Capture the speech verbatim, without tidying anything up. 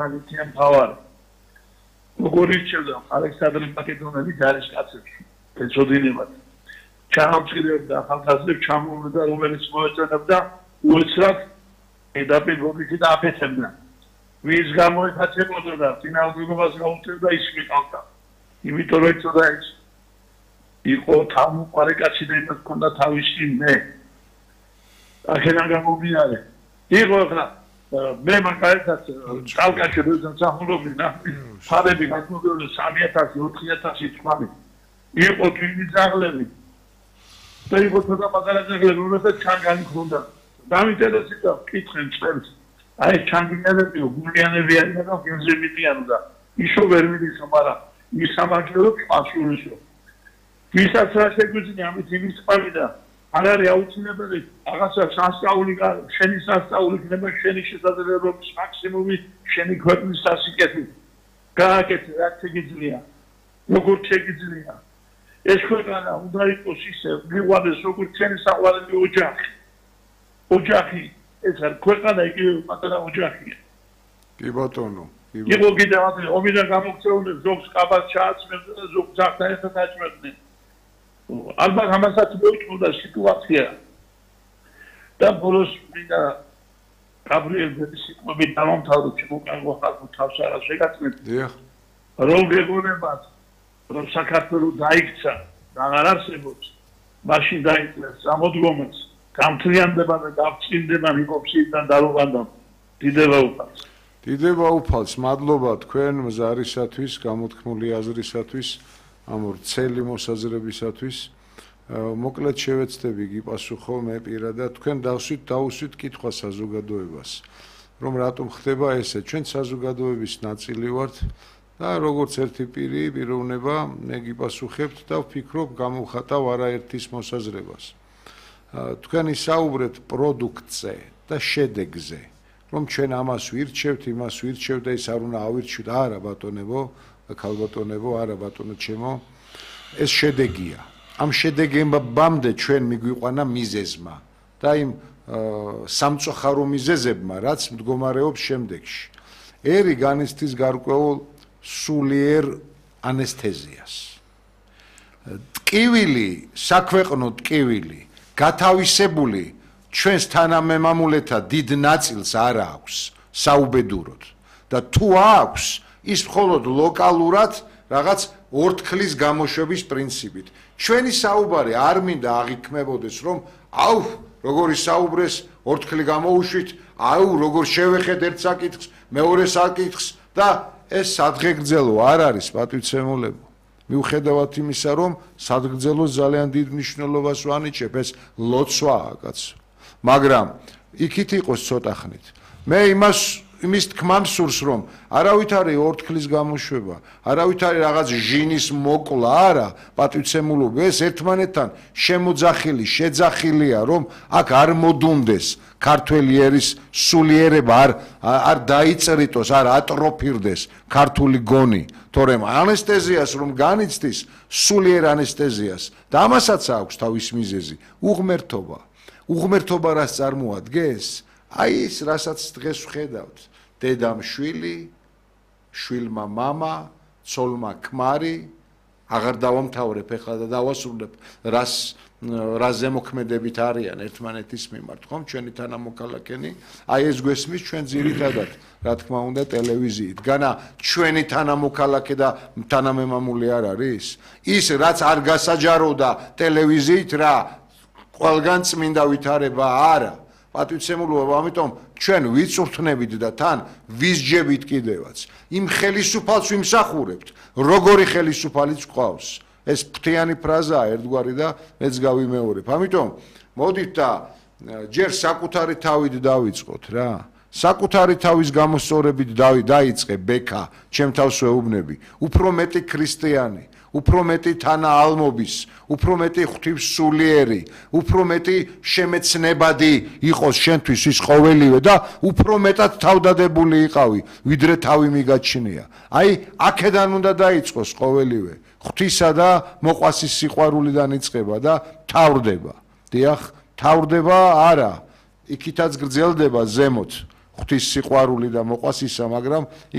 Magician power. Gorichevda, Alexander Makedoneli ჯარისკაცებს ეწოდინებათ. ჩამოწირებდა ხალხაზე ჩამოვიდა რომელიც მოეწონებდა უეცრად ედაპირობითი და აფეთებდა. ვის გამოიხაცებოდა და წინააღმდეგობას გაუწევდა ის მიყავდა. იმიტომ რომ ეწოდა ის იყო თავმოყარე კაცი და იმას ჰქონდა თავისი მე. აქედან გამომდინარე. იყო ახლა მე მაგალითად კავკასიაში როდესაც ახმობინა ფარები გასმოგებული სამი ათასი ოთხი ათასი თვალი იყო თვილი ძაღლები და იყო ცოტა პატარა ძაღლები რომელსაც ჩანგანი ჰქონდა დამინტერესდა კითხენ წერს აი ჩანგინელებიო გულიანები არიან და გემზებიან და ისო ვერ მიდისო მაგრამ ის სამართლო პასუხისო ვისაც რა შეგვიძლია ამით იმის ყავიდა არ არის აუცილებელი რაღაცა სასწაული შენი სასწაული იქნება შენი შესაძლებლობის მაქსიმუმი შენი ქვეყნის სასიკეთე გააკეთე რაც შეგიძლია როგორ შეგიძლია ეს ქვეყანა უნდა იყოს ისე მიყვარდეს როგორც შენი საყვარელი ოჯახი ოჯახი ეს არ ქვეყანა იგივე პატარა ოჯახია კი ბატონო იყო კიდევ ასე ომიდან გამოქცეული ზოგს კაბას ჩააცმევდნენ და ზოგს ძაღლთან ერთად აჭმევდნენ ალბათ ამასაც მოიწოდა სიტუაცია და ბოლოს მინდა გაბრიელის სიტყვები დამამთავროთ შემოკარგო ხალხო თავს არა შეგაცნეთ დიახ რომ გეგონებათ რომ საქართველოს დაიქცა და აღარ არსებობს მაშინ დაიწყეს სამოდგომეც გამთლიანდება და გავწინდება მიკოფსიდან დარუღანდა დიდება უფალს დიდება უფალს მადლობა თქვენ მზარისათვის გამოთქმული აზრისათვის ამ ვრცელი მოსაზრებისათვის მოკლედ შევეცდები გიპასუხო მე პირადად თქვენ დავსვით დაუსვით კითხვა საზოგადოებას რომ რატომ ხდება ესე ჩვენ საზოგადოების ნაწილი ვართ და როგორც ერთი პირი პიროვნება მე გიპასუხებთ და ვფიქრობ გამოვხატავ არაერთის მოსაზრებას თქვენ ისაუბრეთ პროდუქტზე და შედეგზე რომ ჩვენ ამას ვირჩევთ იმას ვირჩევთ და ის არ უნდა ავირჩიოთ არა ბატონებო ქალბატონებო არა ბატონო ჩემო ეს შედეგია ამ შედეგებამდე ჩვენ მიგვიყვანა მიზეზმა და იმ სამწუხარო მიზეზებმა რაც მდგომარეობს შემდეგში ერი განიცდის გარკვეულ სულიერ ანესთეზიას ტკივილი საქვეყნო ტკივილი გათავისებული ჩვენს თანამემამულეთა დიდ ნაწილს არ აქვს საუბედუროდ და თუ აქვს ის მხოლოდ ლოკალურად რაღაც ორთქლის გამოშვების პრინციპით. ჩვენი საუბარი არ მინდა აღიქმებოდეს, რომ აუ, როგორი საუბრეს ორთქლი გამოუშვით, აუ, როგორ შევეხეთ ერთ საკითხს, მეორე საკითხს და ეს სადღეგრძელო არ არის პატივცემულებო. მიუხედავად იმისა, რომ სადღეგრძელოს ძალიან დიდ მნიშვნელობას ვანიჭებ, ეს ლოცვაა, კაცო. მაგრამ იქით იყოს ცოტა ხნით. მე იმას იმის თქმამ სურს რომ არავით არის ორთქლის გამოშვება, არავით არის რაღაც ჟინის მოკლა, არა, პატივცემულობა ეს ერთმანეთთან შემოძახილი, შეძახილია, რომ აქ არ მოდუნდეს ქართველი ერის სულიერება, არ არ დაიწერიტოს, არ ატროფირდეს ქართული გონი, თორემ ანესთეზიას რომ განიცდის, სულიერ ანესთეზიას და ამასაც აქვს თავის მიზეზი, უღმერთობა. უღმერთობა რას წარმოადგენს? აი ის რასაც დღეს ვხედავთ დედამ შვილი შვილმა მამა ცოლმა ქმარი აღარ დავამთავრებ ეხლა და დავასრულებ რას რა ზემოქმედებით არიან ერთმანეთის მიმართ ხომ ჩვენი თანამოქალაქენი აი ეს გვესმის ჩვენ ძირითადად რა თქმა უნდა ტელევიზიით განა ჩვენი თანამოქალაქე და თანამემამული არ არის ის რაც არ გასაჯაროდა ტელევიზიით რა ყველგან წმინდა ვითარება არა პატივცემულობა, ამიტომ ჩვენ ვიწურთნებით და თან ვისჯებით კიდევაც. იმ ხელისუფალს ვიმსახურებთ, როგორი ხელისუფალიც გვყავს. ეს ფრთიანი ფრაზაა ერთგვარი და მეც გავიმეორებ. ამიტომ მოდით და ჯერ საკუთარი თავით დავიწყოთ რა. საკუთარი თავის გამოსწორებით დაიწყე ბექა, ჩემ თავს ვეუბნები. უფრო მეტი ქრისტიანი უფრო მეტი თანაალმობის, უფრო მეტი ღვთივსულიერი, უფრო მეტი შემეცნებადი იყოს შენთვის ის ყოველივე და უფრო მეტად თავდადებული იყავი, ვიდრე თავი მიგაჩნია. აი, აქედან უნდა დაიწყოს ყოველივე. ღვთისა და მოყვასის სიყვარულიდან იწყება და თავდება. დიახ, თავდება არა, იქითაც გრძელდება ზემოთ. ღვთის სიყვარული და მოყვას ისა, მაგრამ